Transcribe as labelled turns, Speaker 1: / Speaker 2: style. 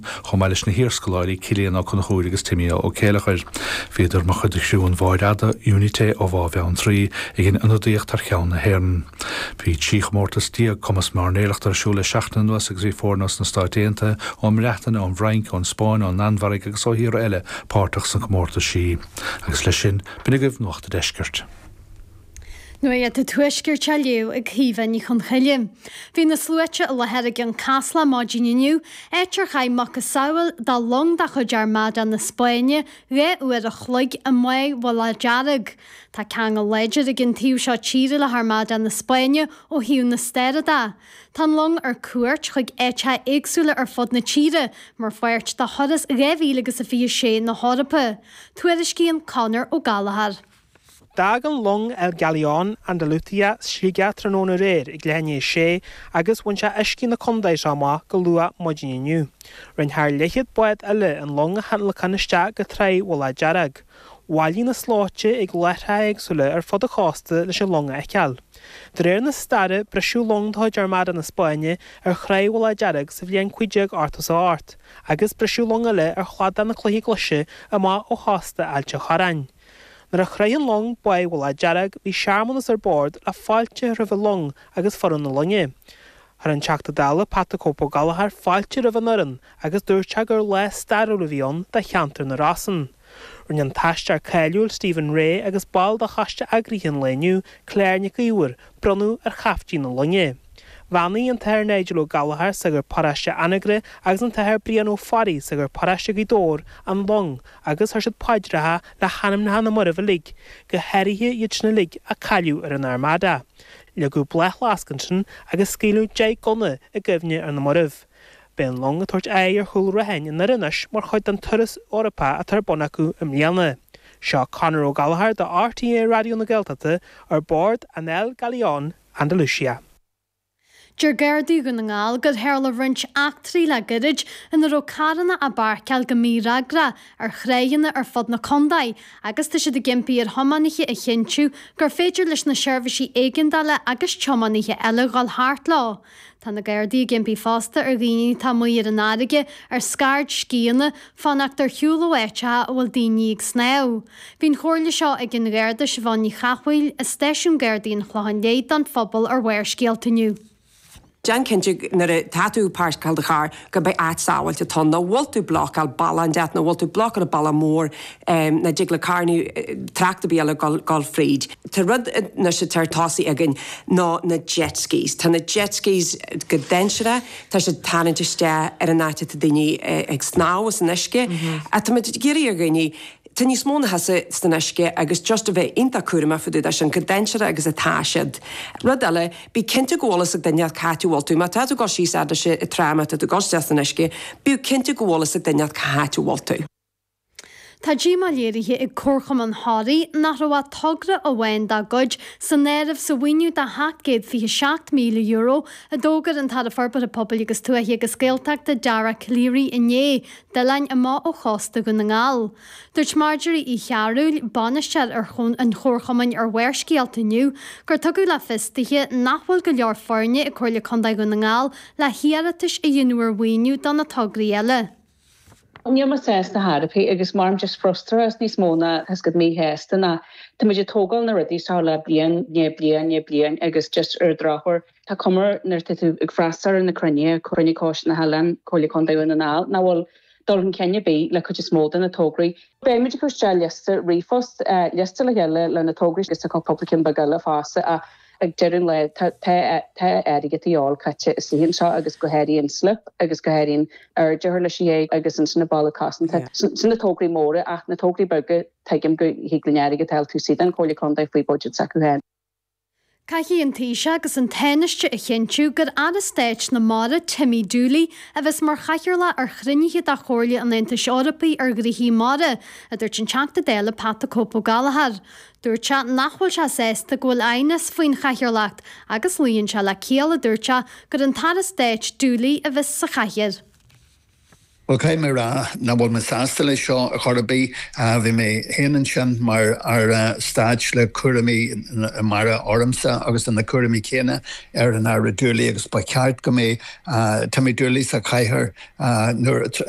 Speaker 1: Éireann, chomh maith leis na hiarscoláirí Cillian Ó Conchúir agus Timmy Ó Céileachair. Bhíodar mar chuid de chriú an bháid fhada, Unité ó Bhá Bheanntraí, ag an ionadaíocht thar cheann na hÉireann. Bhí 13 chomórtas cumas mairnéalachta ar siúl le seachtain anuas agus bhí foirne os na Stáit Aontaithe, ón mBreatain, ón bhFrainc, ón Spáinn, ón Danmhairg agus ó thíortha eile páirteach sna comórtaisí. Agus leis sin, b'in agaibh Nuacht a' Deiscirt.
Speaker 2: Nuacht an Tuaiscirt á léamh ag Caoimhe Ní Chonchoille. Bhí na sluaite i láthair i gCionn Caslach maidin inniu, áit ar chaith macasamhail de long de chuid Armada na Spáinne 2 uair a chloig i mBáigh Mhullach Dearg. Tá ceangal láidir ag an taobh seo tíre le hArmada na Spáinne ó thaobh na staire de. Tá an long ar cuairt chuig áiteacha éagsúla ar fud na tíre mar pháirt de thuras 2026 na hEorpa. Tuairiscíonn Conor Ó Gallchóir.
Speaker 3: D'fhág an long El Galeón Andalucía Sligeach tráthnóna aréir ag leath i ndiaidh a sé agus bhain sé uiscí na contae seo amach go luath maidin inniu. Rinne thar leathchéad bád eile an long a thionlacan isteach go Tráigh Mhullach Dearg. Bhailigh na slóite ag láithreacha éagsúla ar fud an chósta leis an long a fheiceáil. De réir na staire, briseadh long de chuid Armada na Spáinne ar Thráigh Mhullach Dearg sa bhliain 1588, agus briseadh long eile ar chladach na Cloiche Glaise amach ó chósta Ailt an Chorráin. Nuair a shroich an long Báigh Mhullach Dearg, bhí searmanas ar bord le fáilte a chur roimh an long agus foireann na loinge. Chuir an Teachta Dála Pat 'The Cope Ó Gallchóir fáilte roimh an fhoireann agus dúirt sé gur lá stairiúil a bhí ann do cheantar na Rosann. Rinne an t-aisteoir cáiliúil Stephen Rea agus ball de choiste eagraithe an lae inniu, Claire Nic Íomhair, bronnadh ar chaiftín na loinge. Bheannaigh an tAthair Nigel Ó Gallchóir, sagart paróiste Anagaire agus an tAthair Brian Ó Fearraigh, sagart paróiste Ghaoth Dobhair, an long agus chuir siad paidreacha le hanamnacha na marbh uilig, go háirithe iad sin uilig a cailleadh ar an Armada. Leagadh bláthfhleasc ansin agus scaoileadh 10 ngunna i gcuimhne ar na mairbh. Beidh an long ag tabhairt aghaidh ar Chúil Raithin i nDoire anois mar chuid den turas Eorpach atá ar bun acu i mbliana. Seo Conor Ó Gallchóir do RTÉ Raidió na Gaeltachta ar bord an El Galeón Andalucía.
Speaker 2: Deir Gardaí Dhún na nGall gur tharla roinnt eachtraí le gairid ina raibh carranna á bpáirceáil go mífhreagrach ar thráigheanna ar fud na contae agus tá siad ag impí ar thiománaithe a chinntiú gur féidir leis na seirbhísí éigeandála agus tiománaithe eile dhul thart leo. Tá na Gardaí ag impí fosta ar dhaoine atá amuigh ar an fharraige ar scairdscíonna fanacht ar shiúl ó áiteacha a bhfuil daoine ag snámh. Bhí an chomhairle seo ag an Gharda Siobhán Ní Chathmhaoil i Stáisiún Gardaí an Chlocháin Léith don phobal ar Bharrscéalta inniu.
Speaker 4: Déan cinnte nuair atá tú ag páirceáil do charr go mbeidh áit sábháilte ann, nach bhfuil tú blocáil bealach inteacht, nach bhfuil tú blocáil an bealach mór, nach dtig le carranna, trácht ar bith eile dul fríd. Tá rud anois atá ar tosaigh againn ná na jet skis. Tá na jet skis go dainséarach, tá siad ag tarraingt isteach ar an áit atá daoine ag snámh san uisce. Ach tá muid ag iarraidh ar dhaoine, tá níos mó ná thusa san uisce agus just a bheith iontach cúramach fá dtaobh de sin, chomh dainséarach agus atá siad. Rud eile, bí cinnte go bhfuil fhios ag duine cá háit a bhfuil tú. Má tá tú ag dul síos fhad leis an trá, má tá tú ag dul isteach san uisce, bíodh cinnte go bhfuil fhios ag duine cá háit a bhfuil tú.
Speaker 2: Tá díomá léirithe ag Comharchumann Thoraí nach raibh ach togra amháin dá gcuid san áireamh sa mhaoiniú de €727,000 a d'fhógair an tAire Forbartha Pobail agus Tuaithe agus Gaeltachta Dara Calleary inné d'oileáin amach ó chósta Dhún na nGall. Dúirt Marjorie Uí Chearúil, bainisteoir ar an chomharchumainn ar Bharrscéalta inniu, gur tugadh le fios dithe nach bhfuil go leor foirne ag Comhairle Contae Dhún na nGall le hiarratais a dhéanamh ar mhaoiniú do na tograí eile.
Speaker 5: Níl mé sásta chor ar bith agus mothaím just frustrachas níos mó ná tá 's agat míshásta ná tá muid ag tógáil na rudaí seo le bliain i ndiaidh bliain i ndiaidh bliain agus just ar an drochuair tá cuma nuair atá tú ag freastal ar na cruinnithe, Cruinniú Coiste na hOileán, Comhairle Contae Dhún na nGall, nach bhfuil dul chun cinn ar bith le cuid is mó de na tograí. Beidh muid ag cur isteach liosta ríomhphost, liosta le chéile le na tograí agus tá cúpla ceann beag eile fosta ach ag deireadh an lae tá tá airgead a dhíobháil caite istigh anseo agus go háirithe an slip agus go háirithe an airde leis an ghéag agus ansin an balla cosanta. Sin na tograí móra ach na tograí beaga tuigim go thig linn airgead a fháil taobh istigh den Chomhairle Contae faoi budget s'acu féin.
Speaker 2: Caithfidh an Taoiseach agus an Tánaiste a chinntiú gur Aire Stáit na Mara, Timmy Dooley, a bheas mar chathaoirleach ar chruinnithe de Chomhairle an Aontais Eorpaigh ar Ghnoithí Mara, a dúirt an Teachta Dála Pat 'The Cope' Ó Gallchóir. Dúirt sé nach bhfuil sé sásta go bhfuil aighneas faoin chathaoirleacht agus luíonn sé le ciall, a dúirt sé, gur an tAire Stáit Dooley a bheas sa chathaoir.
Speaker 6: Bhuel, caithfidh mé a rá nach bhfuil mé sásta leis seo ar chor ar bith. Bhí mé féin ansin mar Aire Stáit le cúraimí mara ormsa agus tá na cúraimí céanna ar an Aire Dooley agus ba cheart go mbeadh Timmy Dooley sa chathaoir nuair.